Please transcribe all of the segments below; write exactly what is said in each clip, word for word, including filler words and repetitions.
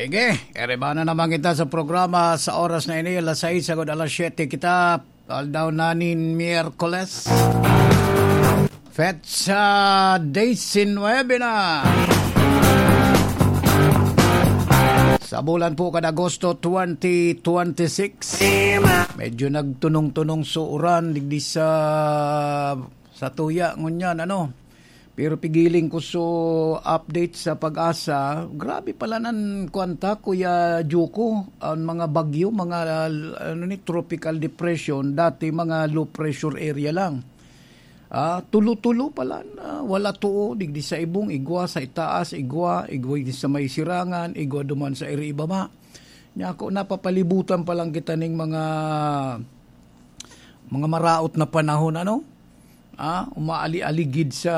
Sige, eriba na naman kita sa programa sa oras na ini, alas sais agod alas siyete kita, aldaw na nin Miyerkules. Petsa diecinuebe na. Sa bulan po kan Agosto twenty twenty-six. Medyo nagtunong-tunong so uran digdi sa, sa tuya ngunyan, ano. Pero pigiling ko so update sa Pag-asa. Grabe pala nan kwanta, Kuya Juko. Ang mga bagyo, mga, ano ni, tropical depression, dati mga low pressure area lang. Ah, tulo-tulo pala na wala tuo, digdi sa ibong, igwa sa itaas, igwa, igwa digdi sa may sirangan, igwa duman sa iri ibaba. Nya ako, napapalibutan pa lang kita ning mga, mga maraot na panahon, ano? Ah, umaali-aligid sa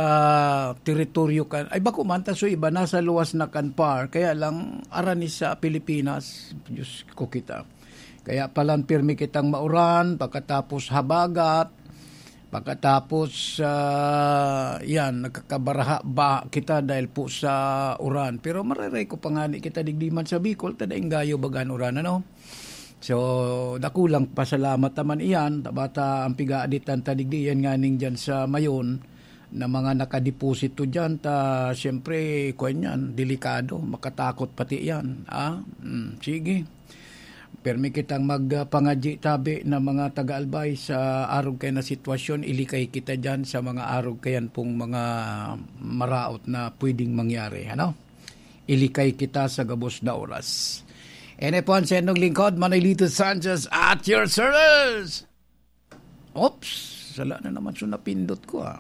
teritoryo kan, ay, bako man, ta so iba, nasa luwas na kan par, kaya lang, arani sa Pilipinas, Diyos ko kita. Kaya palan pirmi kitang mauran, pagkatapos habagat, pagkatapos, ah, yan, nagkakabaraha ba kita dahil po sa uran. Pero marereko pa nga ni kita digdi man sa Bicol, ta daing gayo bagan uran, ano? So, dakulang pasalamat naman iyan, tabata ang pigaaditan ta digdi, yan nga ning dyan sa Mayon, na mga nakadeposito dyan, ta, siyempre, kwan yan, delikado, makatakot pati yan. Ah, mm, sige. Permi kitang magpangadyi tabi na mga taga-Albay sa arog kaya na sitwasyon, ilikay kita dyan sa mga arog kayan pong mga maraot na pwedeng mangyari, ano? Ilikay kita sa gabos na oras. Ene po ang sendong lingkod, Manolito Sanchez, at your service! Oops, sala na naman so napindot ko, ah.